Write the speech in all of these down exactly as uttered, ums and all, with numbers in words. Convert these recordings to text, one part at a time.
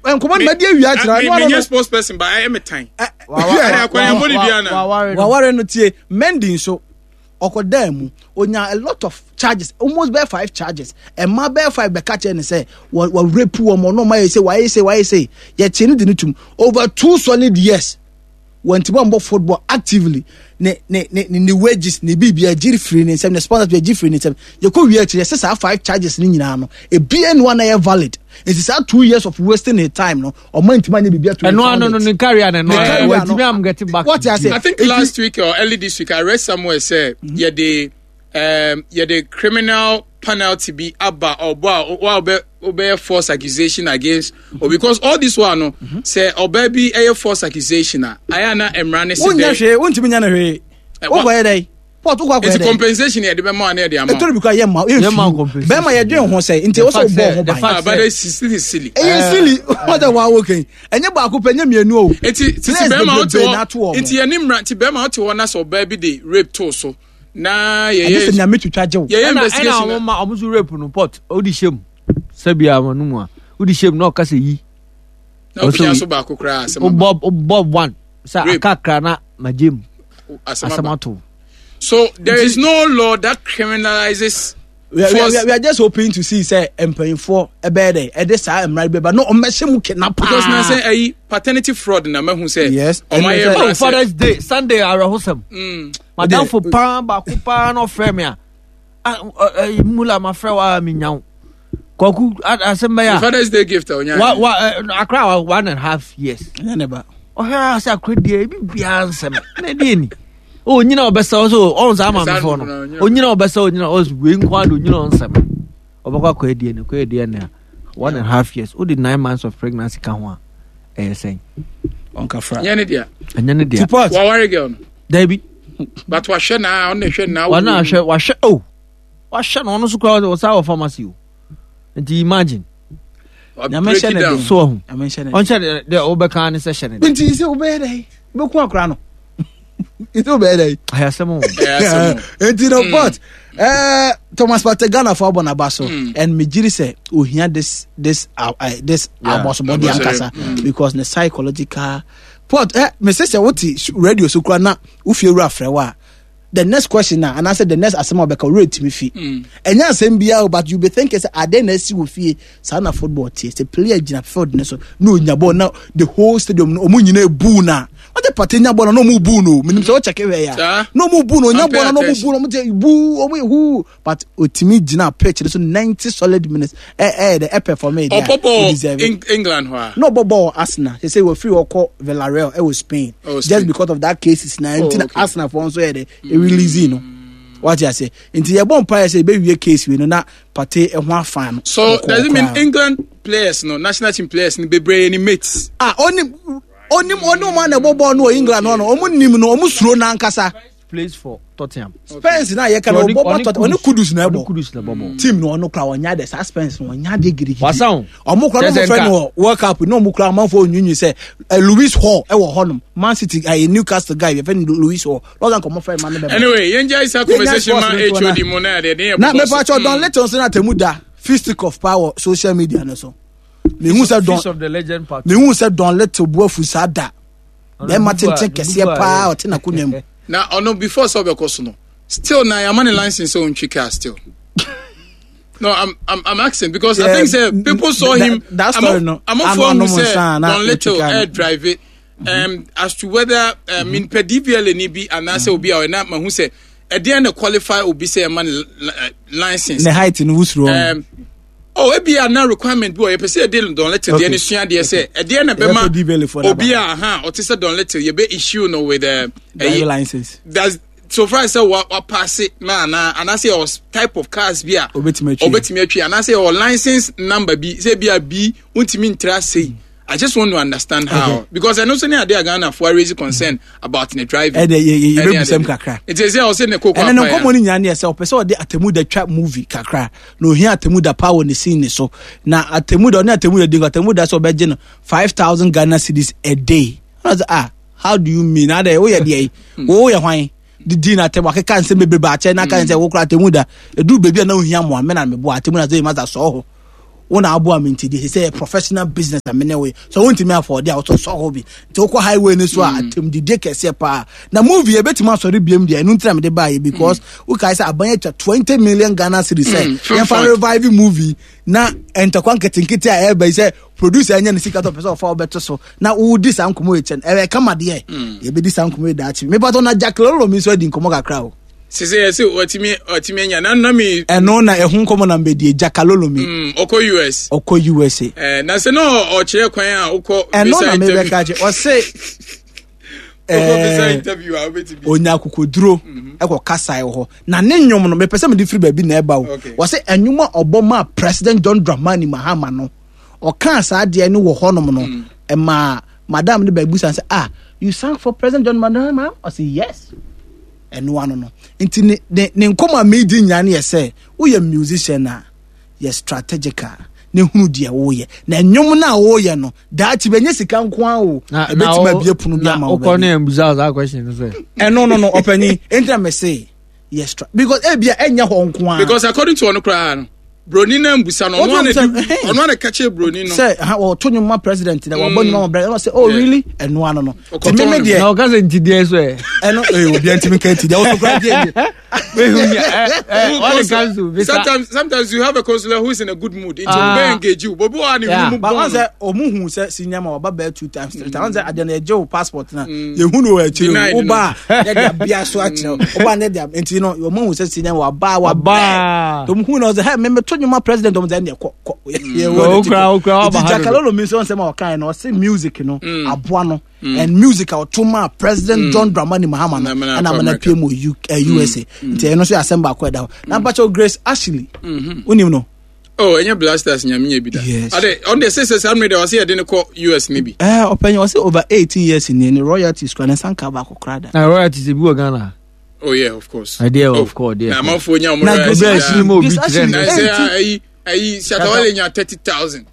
Tan nkɔmɔ no madi awia kyerɛ Me ɛno ano me no nyɛ sports person, but I am a tan. Ɛ- Wa- wa- hwɛ, akwan yɛn bɔ ne dua na. waware no. Waware no. Tie, Mendy nso ɔkɔdaa mu, onya a lot of charges, almost bɛɛ five charges. Ɛma bɛɛ five bɛka kyerɛ ne sɛ wɔ wɔ rape wɔn, ɔno ɔmo ayɛ sɛ wayɛ sɛ wayɛ sɛ yɛkye ne de ne tum over two solid years. Wɔn ti bɔ football actively, ne ne ne ne ne wages ne biribi agyiri firi ne nsɛm, ne sponsors bi agyi firi ne nsɛm. Yɛkɔ wie akyire, yɛsɛ saa five charges ne nyinaa no, ebien no na yɛ valid. Nti saa two years of wasting his time no, ɔmo ntoma nye biribi ato. Ɛno ano no, ne career no. Ne career ɛno no. Wɔntumi am get back. What I say? I think If last week or early this week, I read somewhere say mm-hmm. yeah, the um yeah, the criminal penalty be aba or wa wa obey false accusation against, or because all this one no say ɔbaa bi ɛyɛ false accusation a ayɛ na mmara ne Wonya sɛ hwee, wontumi nya no hwee. Eh, wa- Wokɔyɛ dɛ port wokɔ akɔyɛ nti dɛ compensation yɛ de bɛma wa ne yɛ de ama. Ɛtɔre bi kora yɛ ma Yɛ ma yɛ compensation. bɛrima yɛdwen ho sɛ nti The wɔ sɛ fact wobɔ sɛ- ho the ban. fact Ah, but it's still silly. Ɛyɛ silly wɔn sɛ wɔawo kɛn, ɛnyɛ baako pɛ, ɛnyɛ mmienu o. Nti titi Players bɛrima wote bebree na ato hɔ wɔn. Nti yɛ ne mmara nti bɛrima wote hɔ na sɛ ɔbaa bi de rape to so na ɛgye yɛyɛ sɛ Nyame twitwa gye wo. Yɛyɛ ɛna ɛna investigation ɔmo ma ɔmo so rape no port ɔdi hyɛ mu sɛbi ama no mu a ɔdi hyɛ mu na ɔka sɛ yi. Na opia so baako koraa, asɛm aba. Wobɔ wobɔ one sɛ Rape. akakra na magye mu. Asɛm asɛm aba. Ato. So there is no law that criminalizes we are, we, force are, we are just hoping to see sɛ mpanyinfoɔ ɛbɛyɛ dɛ ɛde saa mmara bi bɛba na ɔmmɛhyɛ mu kena paa. Because na sɛ ɛyi paternity fraud na mahu sɛ Yes. ɔmo ayɛ Ɛno sɛ- mmara Oh, sɛ Father's Day Sunday, awerɛhosɛm. Mm. Madamfo paa baako paa na ɔfrɛ me a ah, ɔ- ɛ, mula mafrɛ wo a menya wo Kwaku a- asɛm bɛyɛ a Father's Day gift a onya. wa wa ɛ, akra wa one and a half years. Ɛnyɛ ne ba. Ɔhwɛ a sɛ akora deɛ ebi biara nsɛm na ɛdeɛ ni onyina ɔbɛsɛ ɔsɛ ɔn saa maamefoɔ no onyina ɔbɛsɛ onyina ɔsɛ wei nko ade onyina ɔnsɛm ɔbɛkɔ akɔyɛ D N A, kɔyɛ D N A a, one and a half years, wode nine months of pregnancy ka ho a, ɛyɛ sɛn? Ɔnkafra. Nyɛ ne dea. Ɛnyɛ ne dea. Tipot. Waware girl no. Dabi. But wahwɛ na ɔno hwɛ na. Ɔno ahwɛ, wahwɛ o, wahwɛ no, ɔno nso koraa ɔsa wɔ pharmacy o, nti imagine. Nyame hyɛ ne den. So ɔho Nyame hyɛ ne den. Ɔnhyɛ de deɛ wobɛka ne sɛ hyɛ ne den. Nti sɛ wobɛyɛ dɛ wobɛku akora no, nti wobɛyɛ dɛ? Ayɛ asɛm o. Nti no but eh, Thomas Partey, Ghana fo abɔ n'aba so and megyiri sɛ ohia this this uh, uh, this Yeah. abɔsobɔde Abɔsɔre. ankasa because ne psychological pot eh, mese sɛ wote radio so kora na wofie wura frɛ wo a, the next question na anaasɛ the next asɛm a wɔbɛka wura tumi fi, ɛnyɛ asɛm biara o, but you be thinking sɛ ade na asi wɔ fie saa na football tie sɛ player gyina field ne so na onya ball na the whole stadium no ɔmo nyinaa ebu na wɔde Partey nya ball na ɔmo bu no, menim sɛ wɔkyɛke hwɛ ya. Saa. Na ɔmo bu no, onya Pay ball na ɔmo attention. bu no, ɔmo te bu, ɔmo yɛ hu, but otimi gyina pitch ne so ninety solid minutes ɛ ɛ de ɛ perform ɛ ɔbɔ o deserve bɔɔl it. England hɔ a Na ɔbɔ bɔɔl Arsenal sɛ sɛ wɔfiri ɔkɔ Villarreal ɛwɔ Spain. Oh, Just Spain. because of that cases na nti na Oh, okay. Arsenal fɔ nso yɛ de release no, wate ase? Nti yɛbɔ mpa yɛ sɛ yɛbɛwie case wei no na Partey ɛho afa no. So Ɔkɔɔ does it mean koraa. England players no, national team players no bebree ni mates? Ah, onim onim onim ɔmo a na ɛbɔ bɔɔl no wɔ England no no ɔmo nim no, ɔmo suro n'ankasa. Plays for Tottenham. Spence na yɛka no, ɔbɔ bɔ Tottenham, ɔne Kudus na Ɔne ɛbɔ. Kudus na ɛbɔ bɔ. Team no, ɔno kora ɔnya de saa Spence no ɔnya de gidigidi. Wasa o. Ɔmo kora no Kyerɛ ɔmo sɛ fɛ nka- no wɔ World Cup na ɔmo kora amanfo onyinyi sɛ ɛ Lewis Hall ɛwɔ hɔnom, Man City ɛyɛ Newcastle guy yɛfɛ no Lewis Hall lɔsan kɔmɔ fɛ ma ne bɛ. Anyway, yɛn gya isa conversation ma sports no H O D mu na yɛ de yɛ Na bɔbɔ mepa so. kyɛw, Don Little nso na atemu da fisticuff paa wɔ social media no so. Mehu sɛ Don Feast of the Legend part. Mehu sɛ Don Little bu afu saa da bɛrima tenten kɛseɛ paa ɔte n'akonnwa mu. Na ɔno before sɛ ɔbɛkɔ so no, still na yɛama ne license sɛ ɔntwi car still? No, I'm, I'm, I'm asking because I Yeah, think say people saw that- him. That story, no. Amanfoɔ Ano- hu ano sɛ nsa na Don Little ɔtwi car no. air drive it. Um, as to whether uh, mm -hmm. D V L A ni bi anaasɛ obi a ɔyɛ na mahu sɛ ɛdeɛn na qualify obi sɛ ɛma ne li- eh, license. Ne height no wusuro no. Um, oh, ebi a na requirement bi wɔ yɛpɛ sɛ yɛde Don Little deɛ Okay. ne sua deɛ sɛ ɛdeɛ na Yɛbɛfɛ D V L A foɔ bɛma no obi aba. a aha ɔte sɛ Don Little yɛbɛ issue no with uh, driving ɛyi- license. Does so far as sɛ wa wa pass na ana anaasɛ yɛ type of cars bi a Obetumi atwi. Obetumi atwi anaasɛ yɛ license number bi sɛ bi a bi ntumi ntra sei. I just want to understand how, Okay. because ɛno nso ne ade a Ghana fo raise concern about ne driving. Ɛdɛ yɛ yɛ Ɛne yɛbɛbusɛm ade. kakra. Nti sɛ ɔsɛ ne koko Ɛnɛ ne apa nkɔmmɔ no nyinaa ne yɛ sɛ ɔpɛ sɛ ɔde Atemmuda twa movie kakra na ohia Atemmuda paa wɔ ne scene ne so, na Atemmuda ɔne Atemmuda di nkɔ, Atemmuda sɛ ɔbɛgye no five thousand Ghana cedis a day. Ɔna sɛ, "Ah, how do you mean? Adɛ woyɛ deɛ yi, woyɛ hwan?" Didi na atɛm akeka nsɛm bebrebe akyɛ na aka sɛ wokora Atemmuda ɛduru baabi a na ohia mmoa me na meboa Atemmuda sɛ masa sɔɔ hɔ. Wo na aboa me nti de sɛ professional business a mene wo so wontumi afford a wotɔ sɔ hɔ bi nti wokɔ highway no so a atemdidie kɛseɛ paa na movie yɛbɛtumi asɔre biam deɛ ɛno nti na mede baayɛ because wokae sɛ aban atwa twenty million Ghana cedis sɛ Mm, film yɛmfa fund. revive movie na ntɔkwa nketenkete a ɛba yi sɛ producer anya ne sika tɔ pɛ sɛ ɔfa wobɛto so na wodi saa nkɔmmɔ yi kyɛn ɛyɛ kama deɛ yɛbɛdi saa nkɔmmɔ yi daakye mepatɔ na Jack Lolo mi nso adi nkɔmmɔ kakra o. Sisi yɛ sɛ ɔtumi ɔtumi anya na na mi. Ɛno na ɛho nkɔmmɔ na mbɛdie Jack Lolo mi. Mm, ɔkɔ U S. Ɔkɔ U S A. Eh, na sɛ na ɔkyerɛ kwan a wokɔ ɛno visa na interview. mebɛka kyɛ ɔse Wokɔ visa eh, interview a wobɛtumi. Onya akokoduro ɛkɔ kasae wɔ hɔ na ne nnwom no mepɛ sɛ mede firi baabi na ɛba o. Okay. Wɔsɛ ɛnwom a ɔbɔ maa President John Dramani Mahama no, ɔkaa saa adeɛ no wɔ hɔnom no, ɛmaa madam no baabi san sɛ, "Ah, you sang for President John Mahama?" Ɔsɛ yes. Ɛno ano no nti ne ne ne nkɔmɔ a meedi nyinaa no yɛ sɛ woyɛ musician a yɛ strategical ne hunu deɛ woyɛ na nnwom no a woyɛ no daakye bɛnyɛ sika nko ara o, ɛbɛtumi abie pono bi ama wo wokɔ baabi. Ne mbusa saa question no sɛ Ɛno no no ɔpanyin nti na mese yɛ stra because ebia ɛnyɛ hɔ nko ara. Because according to ɔno koraa no, broni na mbusa no, ɔno ana Ɔno di mbusa, ɔno ana ka kyerɛ broni no. Sɛ ha wɔto nnwom ma president na wɔbɔ nnwom ma president, ɔsɛ, "Oh, Yeah. really?" Ɛno ano no Ɔkɔtɔn nti meme ne deɛ na ɔka sɛ nti deɛ so ɛ ɛno ee obiara ntumi nka nti deɛ wɔto kora deɛ deɛ mehu ɛ ɛ when it comes to visa. sometimes sometimes you have a consular who is in a good mood nti Ah. ɔbɛ engage you bobi wa ne Yeah. mu But wɔn bɔn sɛ ɔmo hu sɛ si nyama waba bɛɛ two times, three times, wɔn sɛ adeɛ no yɛgye wo passport na yɛhu no wɔ akyire Denied o no. woba a yɛde abia so akyerɛ wo, woba ne de nti no ɔmo hu sɛ si nyama waba waba Waba. ɔmo hu na ɔsɛ hɛ mɛmɛ to nnwom president, ɔmo sɛ ɛndeɛ kɔ kɔ yɛ wɔ Okura- n'akyi kɔ. okura waba Nti ha dodo. Jakalolo mi nso nsɛm a ɔkan no, ɔsɛ music no aboa no and music a ɔto maa President John Dramani Mahama no Na amena ɛna akɔ amena America. pie mu wɔ U- eh, U S A nti ɛno nso yɛ asɛm baako a ɛda hɔ na mpakyɛw Grace Ashley wonim no. Oh, ɛnyɛ Blasters nyame nya bi da. Yes. Ade ɔno deɛ sɛ sɛ saa mmerɛ deɛ ɔsɛ yɛde no kɔ U S ne bi. Ɛɛ ɔpanyin, ɔsɛ over eighteen years ni ne royalties kura ne nsa nka baako kora da. Na royalties ebi wɔ Ghana. Oh yeah, of course. Ɛdeɛ Oh, of course deɛ na amanfoɔ nya ɔmo Na royalties Grace Obi a daa. ɛhyɛ mu obi Grace kyerɛ Ashley- no. Na sɛ Eighteen. ayi ayi Shatawale nya thirty thousand.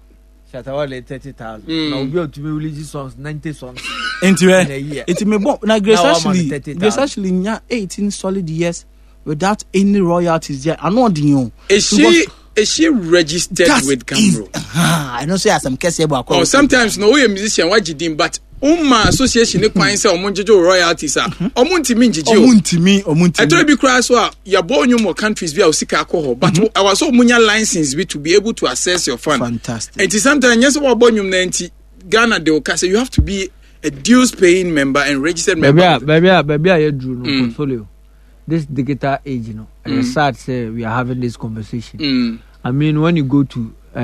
Shatawale thirty thousand. Mm. Na obi a otumi release songs ninety songs Nti in a year. ɛ nti me bɔ na Grace Na wama no Ashley thirty thousand. Grace Ashley nya eighteen solid years without any royalties there, ano ɔden o. Is she is she registered That with is- Gambro? Ah, ɛno nso yɛ asɛm kɛseɛ bɔ akɔ. Oh, sometimes no woyɛ musician wagye din but woma association ne kwan sɛ ɔmo ngyegye wo royalties a, ɔmo ntumi ngyegye Ɔmo o. ntumi, ɔmo ntumi. Ɛtɔrɔ bi koraa so a yɛbɔ nnwom wɔ countries bi a osika akɔ hɔ but ɛwɔ sɛ ɔmo nya license bi to be able to access your fund. Fantastic. Nti sometimes nyɛ sɛ wɔabɔ nnwom na nti Ghana de o ka sɛ you have to be a dues paying member and registered member. Baabi a baabi a baabi a yɛduru no, Mm. portfolio, this digital age no, ɛyɛ sad sɛ we are having this conversation. Mm. I mean, when you go to uh,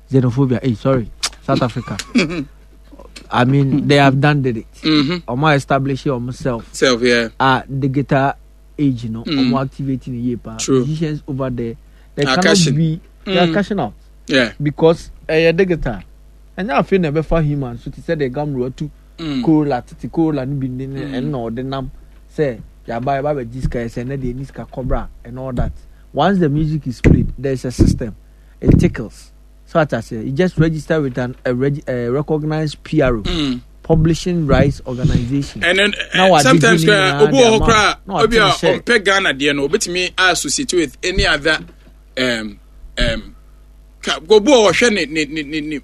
xenophobia, hey, sorry, South Africa, I mean, they have done did it. Mm-hmm. Ɔmo establish ɔmo self Self, yeah. a digital age no, Mm. ɔmo activating yie paa. True. Musicians over there, they Are cannot cashing. be, they Mm. are cashing out Yeah. because ɛyɛ digital. Ɛnyɛ afei na ɛbɛfa human so te sɛ de gamro atu Mm. Corolla tete Corolla no bi ne ne ɛno na ɔde nam sɛ yaba yaba bɛgye sika yɛ sɛ ɛnɛ deɛ ni sika kɔbra and all that. Once the music is played, there is a system, it tickles so ata sɛ you just register with an a, reg, a recognized P R O, Mm. publishing rights organization. And then Na uh, wagye sometimes din koraa nyinaa obi wɔ de hɔ ama koraa wo. Na obi a wate ne hyɛ. ɔmpɛ Ghana deɛ no obetumi associate with any other um, um, ka obi wɔ ɔhwɛ ne ne ne ne ne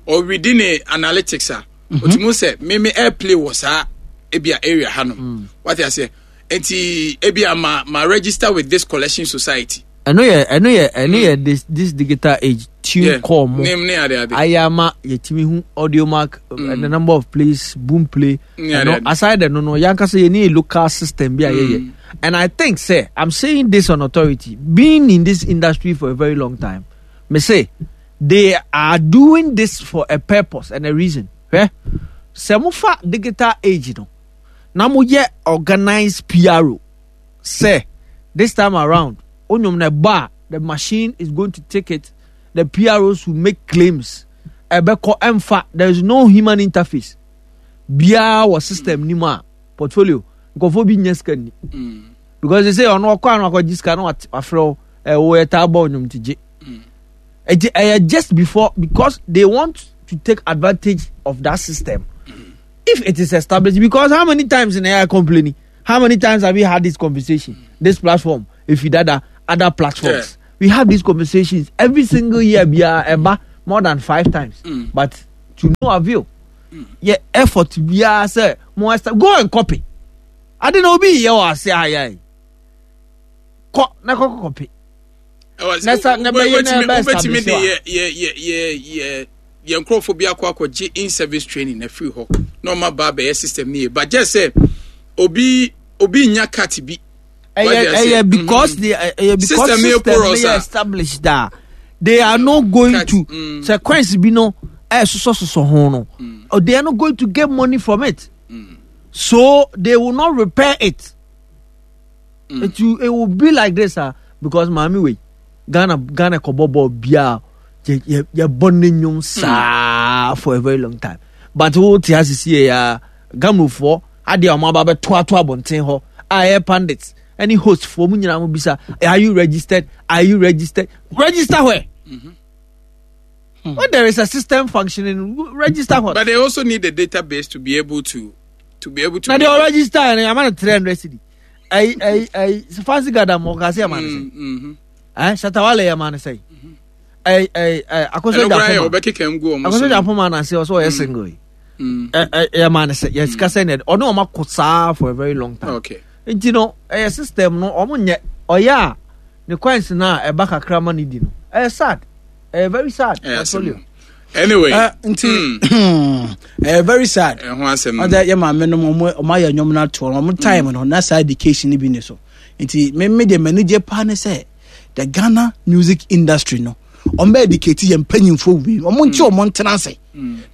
ɔredi ne analytics a otumi sɛ meme airplay wɔ saa ebi a area hanom wate aseɛ, nti ebi a ma ma register with this collection society. Ɛno yɛ ɛno yɛ ɛno yɛ this this digital age tune Yeah. call mo ne ne ade ade. Ayɛ ama yɛtumi hu Audiomack, mm. the number of plays, Boomplay. Yeah, ɛno yeah. aside ɛno no, yankasa yɛ ne local system bi a yɛyɛ, and I think sɛ I'm saying this on authority, being in this industry for a very long time, mese they are doing this for a purpose and a reason. Hwɛ sɛ mofa digital age no na moyɛ organized P R O sɛ this time around onyom na ɛbɔ a, the machine is going to take it, the P R Os will make claims, ɛbɛkɔ ɛmfa, there is no human interface biara wɔ system ni mu a, portfolio nkɔfoɔ bi nyɛ sika ni because they say ɔno ɔkɔ ano akɔgye sika na wat- wafrɛ wo ɛ wo yɛ taa bɔ onyom ti gye ɛgye ɛyɛ just before because they want to take advantage of that system if it is established. Because how many times in A I complaining, how many times have we had this conversation, this platform, if you dada other platforms, yeah. We have these conversations every single year bia ɛba more than five times mm. but to no avail. Mm. Yɛ effort biara sɛ mo ɛsɛ go and copy. Ade na obi yɛ wɔ ase ayɛ kɔ na kɔ copy. Na sa na bɛyɛ na bɛ establish wa. Yɛ yɛ yɛ yɛ yɛ nkurɔfoɔ bi akɔ akɔgye in service training na firi hɔ na ɔma ba abɛyɛ system ni yɛ but just sɛ obi obi nya cut bi. Ɛyɛ ɛyɛ because the ɛyɛ because system yɛ established da they are not going cut. to sɛ coins bi no ɛsosɔsosɔ ho no they are not going to get money from it mm. so they will not repair it. Mm. It will, it will be like this ah because maame wei Ghana Ghana kɔbɔ bɔɔl biara yɛ yɛ yɛbɔ ne nnwom saa for a very long time but wo te ase sie ya Ghanaifoɔ adeɛ a wɔn aba abɛto ato abɔnten hɔ a ɛyɛ pundits ɛne host foɔ mu nyinaa mo bisa are you registered are you registered register where. Mm-hmm. Hmm. When there is a system functioning, register what? But they also need a database to be able to to be able to. Now they all register and I'm on three hundred cedi. I I I fancy gada mo kasi ama ne sɛ. Eh, Shatawale ya ma ne sɛ. Eh eh eh akoso japoma. Akoso japoma na se ɔsɛ ɔyɛ single yi. Eh eh ya ma ne sɛ. Yes, kasa ne. Ɔno ɔma ko saa for a very long time. Okay. Nti no, ɛyɛ system no ɔmo nyɛ ɔyɛ a ne coins na ɛba kakra ma ne di no. Ɛyɛ sad. Ɛyɛ very sad. Ɛyɛ anyway uh, nti ɛyɛ mm. very sad ɛho asɛm ɔdɛ yɛ maame no ɔmo ɔmo ayɛ nnwom no atoɔ no ɔmo time no na saa education no bi ne so nti me me deɛ m'ani gye paa ne sɛ the Ghana music industry no ɔmo bɛ educate yɛn mpanyinfoɔ wei ɔmo nti ɔmo ntena ase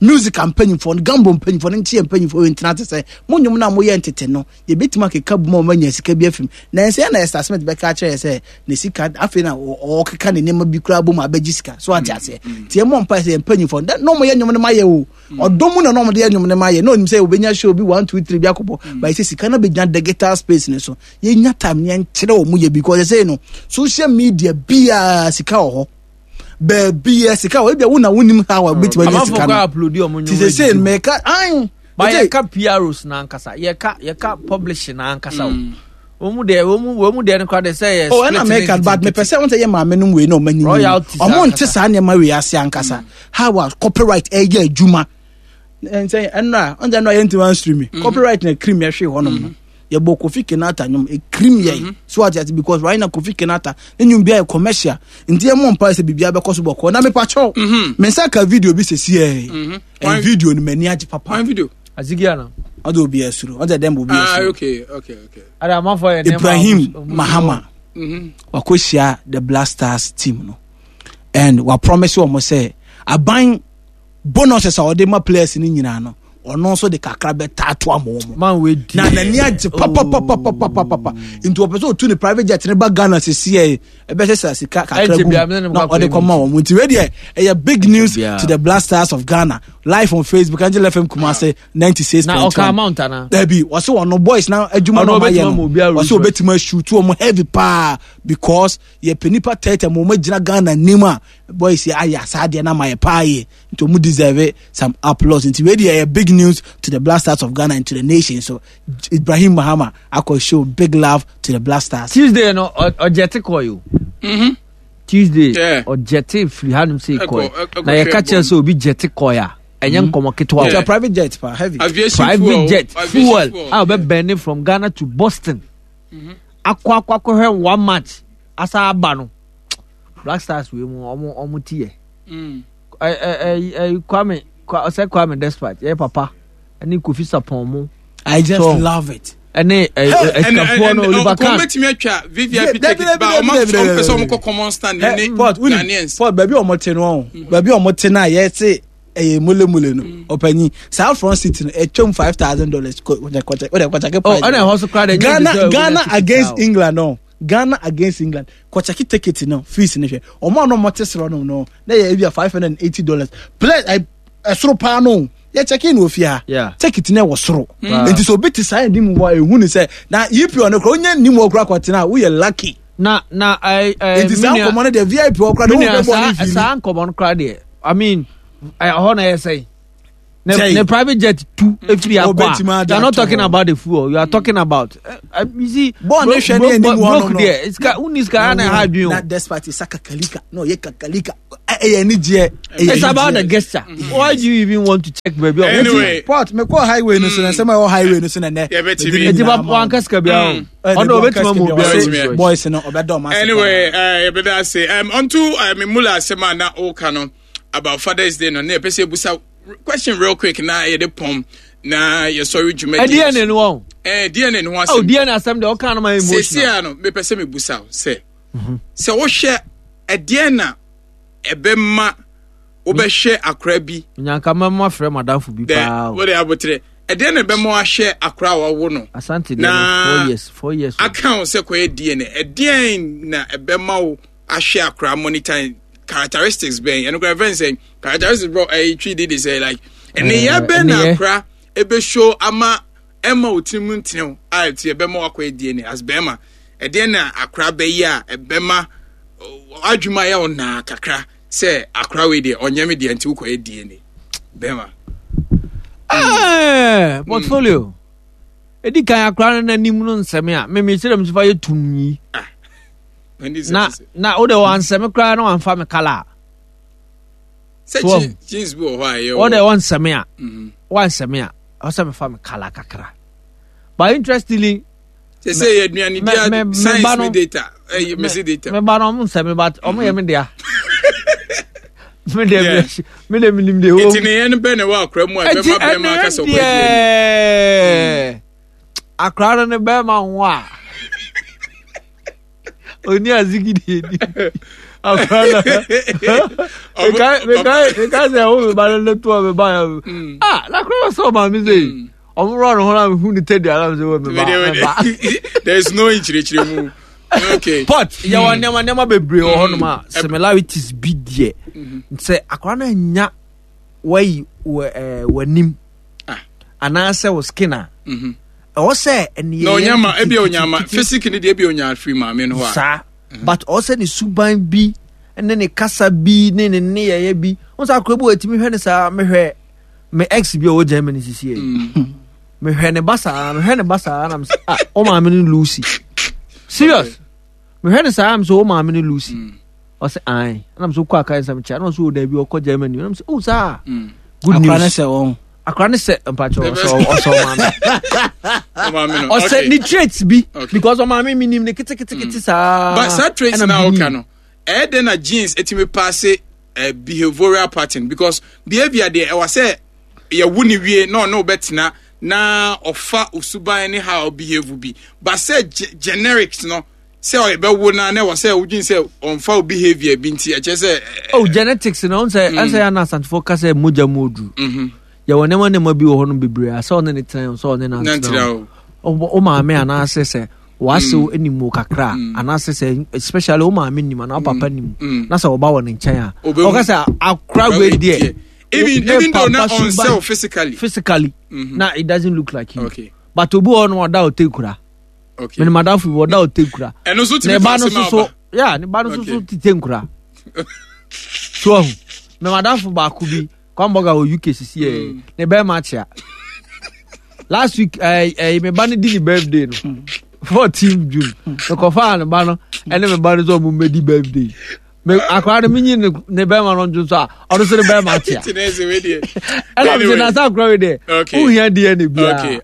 music mpanyinfoɔ no gambo mpanyinfoɔ no nti yɛn mpanyinfoɔ wei ntena ase sɛ mo nnwom no a mo yɛ ntete no yɛbɛtumi akeka bu ma ɔmo anya sika bi afim na ɛsɛ yɛn na Esther Smith bɛka akyerɛ yɛ sɛ ne sika afei na ɔkeka ne nneɛma bi koraa bɔ mu abɛgye sika so ate aseɛ nti ɛmɔ mpa sɛ yɛn mpanyinfoɔ na ɔmo yɛ nnwom no ma yɛ o ɔdɔ mu na ɔmo de yɛ nnwom no ma yɛ na onim sɛ obɛnya show bi one two three bi akɔbɔ ba ɛsɛ sika no bɛgyina digital space ne so yɛnya time yɛn kyerɛ ɔmo yɛ because ɛsɛ no social media biara sika wɔ hɔ baabi yɛ sika wɔ ebi a wo na wonim how a wobɛtumi anya sika no ti sɛ sɛ mɛka an ba yɛka P Rs na ankasa yɛka yɛka publishing na ankasa o wɔn mu deɛ wɔn mu wɔn mu deɛ no kora de sɛ yɛ oh ɛna mɛka but mepɛ sɛ wɔn sɛ yɛ maame no wei na ɔmo anyi royalties ɔmo nte saa nneɛma wei ase ankasa how a copyright ɛyɛ adwuma nsɛn ɛnura ɔn sɛ ɛnura yɛn ntoma stream copyright na cream yɛhwɛ hɔnom no yɛbɔ Kofi Kenata nwom ekirim yɛn so ate ase because right now Kofi Kenata ne nwom bi ayɛ commercial nti yɛn mɔ mpa sɛ biribi abɛkɔ so bɔkɔ na mepa kyɛw me nsa ka video bi sɛsi yɛ ɛn video no m'ani agye papa. One video. Azigiana. Ɔde obi asuro ɔde dɛm obi Ah, asuro. okay, okay, okay. Ada amanfoɔ yɛ nneɛma a Ibrahim ɔmo- ɔmo- Mahama wakɔhyia the Black Stars team no and wa promise wɔn sɛ aban bonuses a ɔde ma players no nyinaa no ɔno nso de kakra bɛta ato ama wɔn. Man wei di. Na n'ani agye papapapapapapa nti ɔpɛ sɛ ɔtu ne private jet ne ba Ghana sisi yɛ ɛbɛsɛ sɛ sika kakra Ɛnkyɛ gu biara, me ne no na kɔ ɔde akɔyɛ kɔma wɔn nti wei deɛ ɛyɛ big news biara. to the Black Stars of Ghana live on Facebook Angel F M Kumasi ninety six Na point ɔka one. amount ana. Dabi wɔsi wɔn no boys na adwuma Ɔno na ɔmo ayɛ ɔbɛtumi ama no obiara wɔsi Rolls obetumi ashoot wɔn heavy paa because yɛpɛ nipa thirty ma wɔn agyina Ghana anim a boys yɛ ayɛ saa adeɛ na ama yɛ paa yɛ nti wɔn deserve some applause nti wei deɛ ɛyɛ big news to the Black Stars of Ghana and to the nation so Ibrahim Mahama akɔ show big love to the Black Stars. Tuesday no ɔ- ɔgyɛte kɔɔ yi o. Mm-hmm. Tuesday Yeah. ɔgyɛte firi hanom sɛ Ɛkɔ- kɔɛ ɛkɔ na yɛka hwɛ kyerɛ bɔm. sɛ obi gyɛte kɔɛ a ɛnyɛ nkɔmmɔ ketewa It's o. a private jet pa heavy. Aviation Private fuel. jet aviation fuel a ɔbɛbɛne from Ghana to Boston akɔ akɔ akɔhwɛ one match asa aba no Black Stars wei mu ɔmo ɔmo ti yɛ Mm. ɛ ɛ ɛ ɛ Kwame Kwa- ɔsɛ Kwame Despite yɛ papa ɛne Kofi Sapɔn mu I just So- love it. ɛne ɛ ɛ ɛsikafoɔ no Oliver Kahn Kɔn bɛtumi atwa V V I P Dabi, ticket dabi, ba dabi, ɔmo dabi, ɔmo pɛ sɛ dabi. ɔmo kɔ common stand Eh, ne Paul, wonim, Ghanaians. Paul, baabi a ɔmo te no ɔn baabi a ɔmo te no a yɛte ɛyɛ mulemule no ɔpanyin saa front seat no ɛtwam five thousand dollars kɔkyɛ kɔkyɛ kɔkyɛ oh ɛna ɛhɔ so koraa de Ghana Ghana against England no Ghana against England kɔkyɛki ticket no fees no hwɛ ɔmo a na ɔmo te soro no no na yɛ ebi a five hundred and eighty dollars play ɛ ɛsoro paa no yɛ kyɛki no ofie ha Yeah. ticket no ɛwɔ soro Wow. nti sɛ obi te saa anim hɔ a ehu ne sɛ na E P L no kora onye nim hɔ kora kɔtena a woyɛ lucky. Na na ɛ ɛ Nti saa nkɔmɔ no deɛ V I P hɔ kora de me wo nua bɛ bɔ ne saa fi saa nkɔmɔ no koraa deɛ, I mean, ɛhɔ na ɛyɛ sɛn. Ne, ne private jet tu efiri akɔ a you are not talking about the fuel, you are talking about uh, uh, you see bɔɔl ne hwɛ ne anim hɔ no no deɛ sika wuni sika ana ha adwene o na despite sa kakalika na ɔyɛ kakalika ɛyɛ ani gyeɛ. It's about the gesture. Why do you even want to check baby? Anyway, port me kɔ highway no so na nsɛm a ɛwɔ highway no so na nɛ. Eti ba wanka sika bi ahɔ ɔno obetuma mu obi boys no ɔbɛdɔ ɔmo ase. Anyway, yɛbɛda ase um, onto uh, me mula asɛm a na ɔka no about Father's Day no na yɛpɛ sɛ ebusa question real quick na yɛde pɔm na yɛsɔre dwumadi. D N A no wɔn. Ɛɛ D N A no ho asɛm. Oh, D N A asɛm deɛ ɔka no ma emotional. Sisi a no mepɛ sɛ mebusa wo sɛ sɛ wohwɛ ɛdeɛn na ɛbɛma wobɛhwɛ akora bi. Nyanka mɛma frɛ madamfo bi paa o. Wode abotrɛ ɛdeɛn na ɛbɛma wahwɛ akora a wawo no. Asante deɛ no four years four years. Aka wo sɛ kɔyɛ D N A ɛdeɛn na ɛbɛma wo ahwɛ akora monitor characteristics bɛn ɛno kora fɛn sɛ characteristics bro ɛyi twi di de sɛ like ɛneyɛ bɛn na akora ebe show ama ɛma o tirim ntenew a ɛti ɛbɛma wakɔyɛ D N A as bɛrima ɛdeɛn na akora bɛyɛ a ɛbɛma adwuma yɛ ɔnaa kakra sɛ akora wei deɛ ɔnyɛ me deɛ nti wokɔyɛ D N A bɛrima. Ɛɛ portfolio edi kan akora no n'anim no nsɛm a mímí kyerɛ mi nso fa yɛ tum yi. Na na o de wansɛme koraa na wamfa me kala. Sɛ jeans bi wɔ hɔ a ɛyɛ o de wansɛme a wansɛme a ɔsɛ mefa me kala kakra. But interestingly, sɛ sɛ yɛ aduane di science ni data ɛyɛ mesi data. Me ba no ɔmo nsɛme but ɔmo yɛ me dea. Me de me de me nim de o. Eti ne yɛn bɛ na ɛwɔ akora mu a ɛbɛma bɛrima akasa ɔkɔ edi. Akora no ne bɛrima ho a. Oni azigi di edi akora na meka meka meka sɛ wo me ba no ne toɔ me ba ya ah na akora sɛ ɔma me sɛ ɔmo rɔ ne ho na mehu ne tɛdi ala sɛ wɔ me ba me ba. There is no nkyerɛkyerɛ mu. Okay. Pot yɛwɔ nneɛma nneɛma bebree wɔ hɔnom a similarities bi deɛ sɛ akora no anya wayi wɔ ɛɛ w'anim anaasɛ wɔ skin a. Ɛwɔ sɛ ɛnìyɛ na onyama ebi onyama physics ni deɛ ebi onya free maame no hɔ a saa but ɔwɔ sɛ ne suban bi ne ne kasa bi ne ne nneyɛeɛ bi wɔn sɛ akora bi wɔ etimi hwɛ ne saa mehwɛ me ex bi a ɔwɔ Germany sisi yɛ mehwɛ ne ba saa mehwɛ ne ba saa na mesɛ ah o maame ne Lucy serious mehwɛ ne saa mesɛ o maame ne Lucy ɔsɛ ae ɛna mesɛ okɔ aka nsɛm kyɛ ɛna ɔsɛ o dabi ɔkɔ Germany ɛna mesɛ o saa good news akora ne sɛ wɔn akora ne sɛ mpakyɛ ɔsɛ ɔsɛ ɔmaame ɔsɛ ne traits bi because ɔmaame mi nim ne ketekete saa. But saa traits na ɔka no ɛyɛ dɛ na genes etimi paase behavioral pattern because behavior deɛ ɛwɔ sɛ yɛwo ne wie na ɔne ɔbɛtena na ɔfa osuban ne how behave bi but sɛ generics no sɛ ɔbɛwo na na ɛwɔ sɛ wodwen sɛ ɔmfa wo behavior bi nti ɛkyɛ sɛ. Oh, genetics na ɔn sɛ ɛsɛ yɛ ana asantefoɔ ka sɛ mogya mu oduru. Yɛwɔ nneɛma nneɛma bi wɔ hɔ no bebree a sɛ ɔne ne tena sɛ ɔne nantena o maame anaasɛ sɛ wasew anim kakra anaasɛ sɛ especially wo maame nim anaa wo papa nim na sɛ ɔba wɔ ne nkyɛn a ɔka sɛ akora wei deɛ even even though na on self physically physically na it doesn't look like you okay. But obi wɔ no ɔda ɔte kura. Okay. Mene madamfo bi ɔda ɔte kura. Ɛno nso tumi fa asɛm aba. Yeah, ne ba no nso so tete nkura. So ɔho me madamfo baako bi Kwamboga wɔ U K sisi yɛ ne bɛrima akyea. Last week ɛɛ ɛɛ me ba no di ne birthday no fourteen June mekɔfaa ne ba no ɛne me ba no sɛ ɔmo mmɛdi birthday. Me akora no menyi ne ne bɛrima no nso a ɔno nso ne bɛrima akyea. Ɛna mi sɛ na sa akora wei deɛ wohia D N A biara.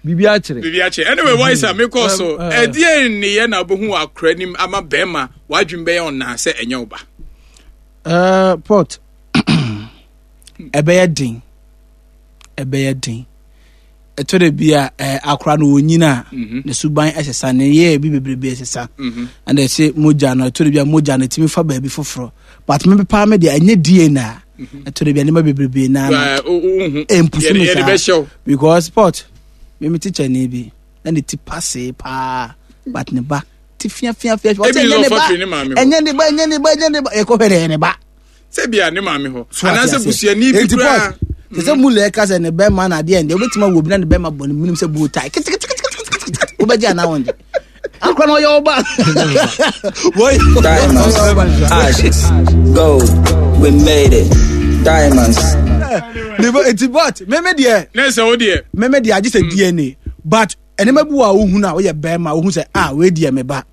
Bibi akyerɛ. Bibi akyerɛ. Anyway, why is me call so? Ɛdeɛ ne yɛ na wobɛhu akora nim ama bɛrima wadwin bɛyɛ ɔnaa sɛ ɛnyɛ wo ba. Uh, pot ɛbɛyɛ den ɛbɛyɛ den ɛtɔ da bi a akora no wɔnyina a ne suban ɛsesa ne yɛ bi bebrebe ɛsesa ɛna ɛsɛ mogya no ɛtɔ da bi a mogya no ɛtumi fa baabi foforɔ but me paa me deɛ ɛnyɛ D N A ɛtɔ da bi a nneɛma bebrebe na ɛmpusu me saa because pot me me teacher ni bi na ne ti pasee paa but ne ba ti fia fia fia ɔsɛ ɛnyɛ ne ba ɛnyɛ ne ba ɛnyɛ ne ba ɛnyɛ ne ba ɛkɔ hwɛ dɛ ɛyɛ ne ba. Sɛ bia ne maame hɔ anaasɛ busuani bi koraa te sɛ mulu ɛka sɛ ne bɛrima na adeɛ ndeɛ wobɛtumi awɔ bi na ne bɛrima bɔ ne menim sɛ buo tae keteketeketekete wobɛgye anaa wɔngye akora na ɔyɛ ɔba. Diamonds, ashes, gold, we made it. Diamonds. Nti but meme deɛ ne sɛ wo deɛ meme deɛ agye sɛ D N A, but ɛnɛma bi wɔ a wohu no a woyɛ bɛrima, wohu sɛ, ah, wei deɛ me ba.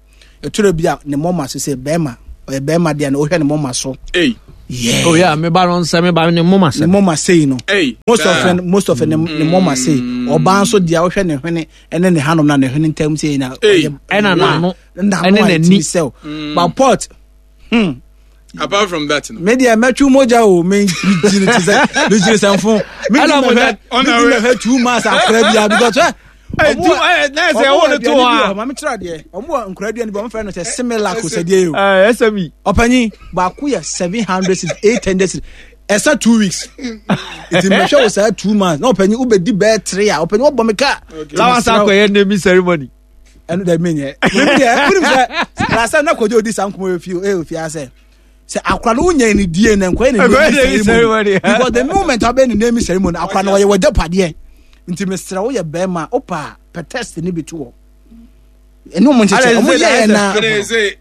Ɛtwerɛ bi a ne mɔma so sɛ bɛrima, ɔyɛ bɛrima deɛ no, wohwɛ ne mɔma so. Ei. Yeah. Oh yeah, me ba no nsɛ me ba ne moma ne sɛ. Mɔma sei no, Ei. most of Daa. them most of them ne mɔma sei. Ɔbaa nso deɛ, wohwɛ ne hwene ɛne ne hanom na ne hwene ntam sei na Ei. ɔyɛ- Ɛna n'ano. N'ano Ɛne a n'ani. ɛtumi sɛw, but pot hmm Apart from that no. Me deɛ, mɛtwi mogya o. Me gyiri ti sɛ me gyiri sɛ nfo me Ɛna di mogya- mɛhwɛ me Ɔna di we- mɛhwɛ two months akora bia because ɛ Ɛ, two- ɛ, na ɛsɛ ɛwɔ no to hɔ a. Maame kyerɛ adeɛ, ɔmo wɔ nkora aduane bi, ɔmo fɛ no sɛ Similac sɛdeɛ yi o. Eh, S M E. Ɔpanyin baako yɛ seven hundred cedis, eight hundred cedis, ɛsɛ two weeks. Nti mɛhwɛ wɔ saa two months na ɔpanyin wobɛdi bɛɛ three a, ɔpanyin wɔbɔ me kaa. Lawa sa akɔyɛ naming ceremony. Ɛno dɛ menyɛ meme deɛ, wonim sɛ last time na Kɔgye odi saa nkɔmmɔ yɛ fie, ɛyɛ ofie asɛ sɛ akora no wonya ne die na nkɔyɛ ne Nkɔyɛ naming naming ceremony, ceremony. because the moment wabɛyɛ ne naming ceremony, akora no ɔyɛ wɔgya padeɛ. Nti mesrɛ, woyɛ bɛrima, wopa a, pɛ test ne bi to hɔ ɛne ɔmo nkyekyɛ ɔmo yɛɛ na Ɛnna ɛsɛ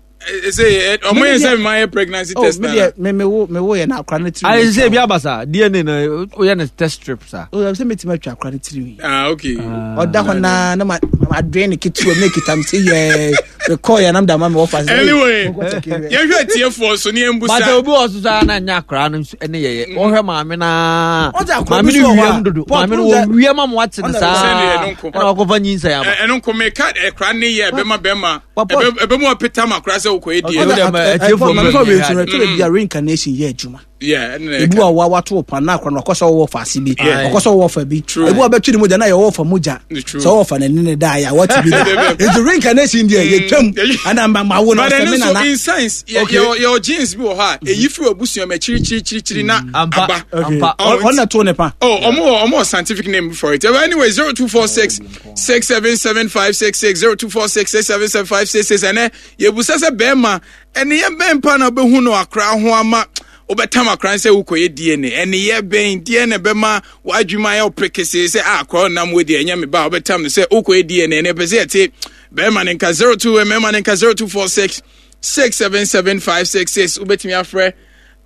ɛsɛ ɔmo yɛ sɛ maa yɛ pregnancy oh test me na deɛ, me me wo me wo yɛ na akora no tiri. Ayi sɛ ebi aba sa D N A na oyɛ ne test strip sa. O sɛ metumi atwa akora no tiri. Ah, okay. Ɔda hɔ naa na ma ma adwene ne ketewa mu na ekita mi sɛ yɛɛ mekɔɔ yɛ nam da ma mi wɔ fa sɛ Anyway, mokɔ check it. Yɛhwɛ tiefoɔ so ne yɛn But busa. obi wɔ so saa na nya akora no nso ɛne yɛyɛ wɔhwɛ maame naa. Ɔdze akora maame bi no so wɔ hɔ a, wiem dodo. Paul, Maame no wohu sɛ- wɔ wiem ama wate ne Ɔna- saa. Sɛdeɛ ɛno nko. Ɛna wakɔfa nyinsɛn aba. Ɛ- ɛno nko meka ɛkora ne yɛ ɛbɛma bɛrima But Paul- ɛbɛ ɛbɛmu apeta ma akora sɛ wokɔyɛ Okay. die. Ɔdze- Ɔdze- ma- ɛ- ɛ- atiefoɔ Paul, maame mmerɛ fa wei nyɛ nso no, ɛtɔ da bi a reincarnation yɛ adwuma. Yeah, ɛno na Ebi ɛka. wa wa wato wo pan na akora no ɔkɔ sɛ ɔwɔ fa ase bi, Yeah. ɔkɔ sɛ ɔwɔ fa bi. True. Ebi wa bɛtwi ne mogya na yɛ ɔwɔ fa mogya True. sɛ ɔwɔ fa n'ani ne da yɛ a wɔte bi da. Nti reincarnation deɛ, yɛtwam ɛna ma ma wo na But ɔsɛ ɛno me nso nana. in science yɛ Okay. yɛ yɛ genes bi wɔ hɔ a eyi firi abusua mu akyirikyirikyirikyiri na Ampa. aba. Okay. Ampa. Oh, Ɔ- ɔna to ne pa. Oh, ɔmo wɔ ɔmo wɔ scientific name for it. But anyway, zero two four six six seven seven five six six zero two four six six seven seven five six six. Ɛnɛ yɛbusa sɛ bɛrima, ɛne yɛ bɛn pa na ɔbɛhu no akora ho ama wobɛtam akora sɛ wokɔyɛ D N A? Ɛne yɛ bɛn D N A bɛma w'adwuma ayɛ wo prekesee sɛ ah, akora ɔnam wo deɛ, ɛnyɛ me ba a, wobɛtam no sɛ wokɔyɛ D N A? Ɛne ɛpɛ sɛ yɛte bɛrima ne nka zero two, mmarima ne nka zero two four six six seven seven five six six. Wobɛtumi afrɛ.